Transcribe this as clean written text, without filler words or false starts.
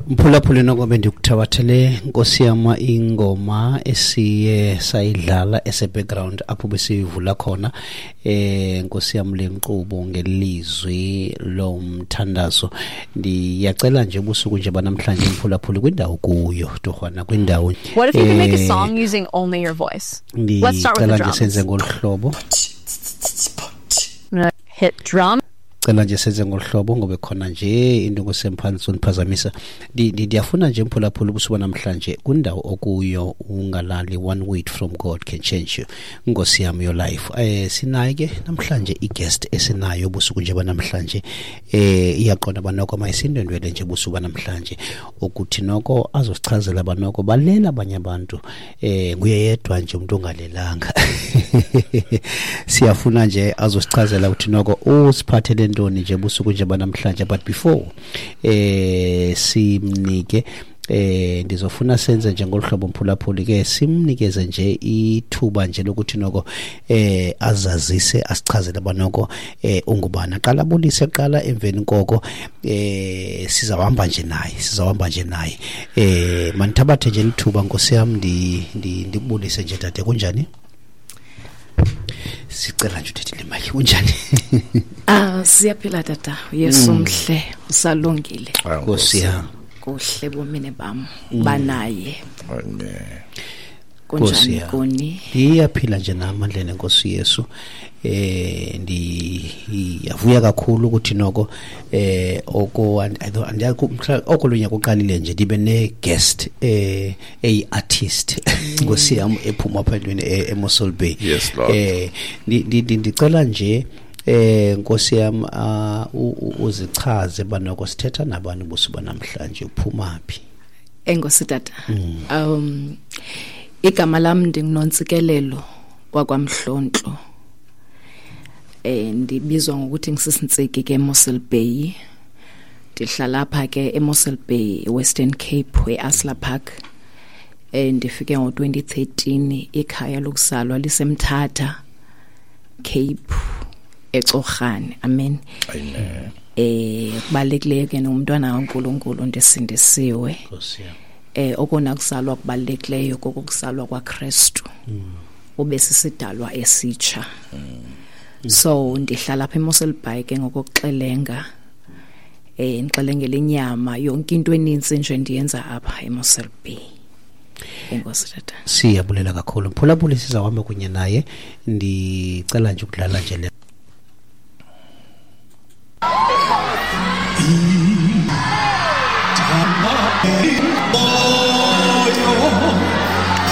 Mphulaphuli, noko bendikuthabathele, nkosi yam, ingoma esiye sayidlala ese-background apho besiyivula khona, nkosi yam, le nkqubo ngelizwi lomthandazo. Ndiyacela nje ubusuku nje banamhlanje, mphulaphuli, kwindawo kuyo torhwana, kwindawo What if you could make a song using only your voice? Let's start with the ndicela nje drums. senze ngolu hlobo. I'm gonna hit drum. Cela nje senze ngolu hlobo ngoba khona nje into ngosemphansi uniphazamisa. Ndiyafuna nje, mphulaphula, ubusuku namhlanje kwindawo okuyo ungalali. One word from God can change you, nkosi yam, your life. Sinayo ke namhlanje i-guest esinayo ubusuku nje banamhlanje. Iyaqonda banoko mayisindwendwele nje ubusuku banamhlanje ukuthi noko azosichazela banoko balela abanye abantu, nguye yedwa nje umuntu ongalelanga. Siyafuna nje azosichazela ukuthi noko usiphathele ntoni nje busuku nje banamhlanje. But before simnike, ndizofuna senze nje ngolu hlobo, mphulaphuli, ke simnikeze nje ithuba nje lokuthi noko azazise, asichazele banoko ungubani. Aqala abulise qala, emveni koko sizawuhamba nje naye, sizawuhamba nje naye. Mandithabathe nje lithuba, nkosi yam, ndikubulise nje, dade. Kunjani? Sicela nje uthethile mike. Kunjani? Ah, siyaphila tata. Yesu mhle, usalungile. Nkosi yam. Kuhle bomini bam banaye. Amen. Nkosi Kunjani yam. kuni? Iyaphila nje namandleni enkosi Yesu. Ndiyavuya kakhulu ukuthi noko oko okolunye kuqalile nje ndibe ne guest eyi artist, nkosi yam, ephuma apha entweni eMossel Bay. Yes, Lord. Ndicela nje, nkosi yam, uzichaze banoko sithetha nabantu busuku namhlanje, uphuma phi? Enkosi tata. Igama lam ndinguNontsikelelo wakwaMhlontlo. Ndibizwa ngokuthi ngisisintsiki ke eMossel Bay. Ndihlala apha ke eMossel Bay, Western Cape, eAsla Park. Ndifike ngo-2013, ikhaya lokuzalwa liseMthatha, Cape, eCorhane. Amen. Amen. Kubalulekileyo ke nomntwana kaNkuluNkulu, ndisindisiwe. Nkosi yam. Okona kuzalwa kubalulekileyo kokuzalwa kwaKristu. Ube sisidalwa esitsha. So ndihlala apha eMossel Bay ke ngokuxelenga. Ndixelengela inyama, yonke into eninzi nje ndiyenza apha eMossel Bay. Enkosi tata. Siyabulela kakhulu, mphulaphuli. Sizawuhamba kunye naye. Ndicela nje ukudlala nje le